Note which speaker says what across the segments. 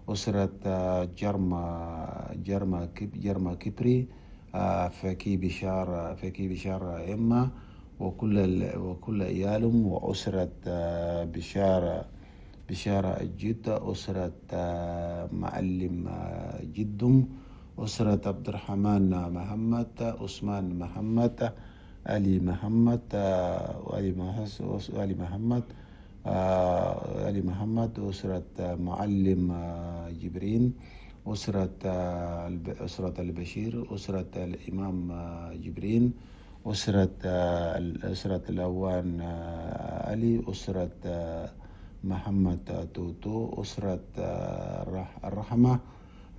Speaker 1: أسرة جرما كبري، فكي بشارة إما وكل عيالهم، وأسرة بشارة الجد، أسرة معلم جدهم، أسرة عبد الرحمن محمد، عثمان محمد، علي محمد، علي محمد، علي محمد، أسرة معلم جبرين، أسرة البشير، أسرة الإمام جبرين، أسرة الأوان علي، أسرة محمد توتو، أسرة الرحمة،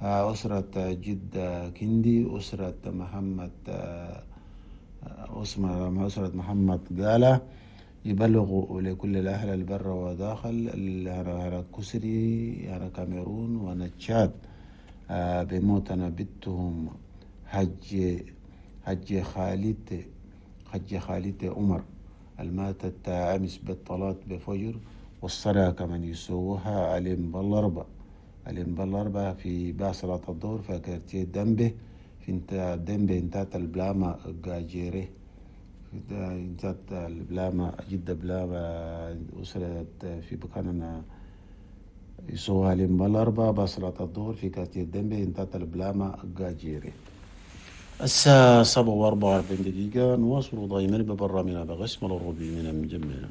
Speaker 1: أسرة جد كندي، أسرة محمد أسرة محمد قالة. يبلغوا لكل الأهل البر وداخل هنا كسري، هنا كاميرون وهنا تشاد بموتنا بنتهم حج خالد عمر الماتت أمس بالطلاق بفجر، والصلاة كمان يسووها علم بالأربعة في صلاة الظهر في كارتيه دمبه في انت دمبه انتات البلاما جاجيري انتات البلاما جدة بلاما أسرة في بكاننا يسووها علم بالأربعة بصلاة الظهر في كارتيه دمبه انتات البلاما جاجيري. الساعة 7:44 نواصل دائما ببرامجنا بغسم الربيع من مجمعنا.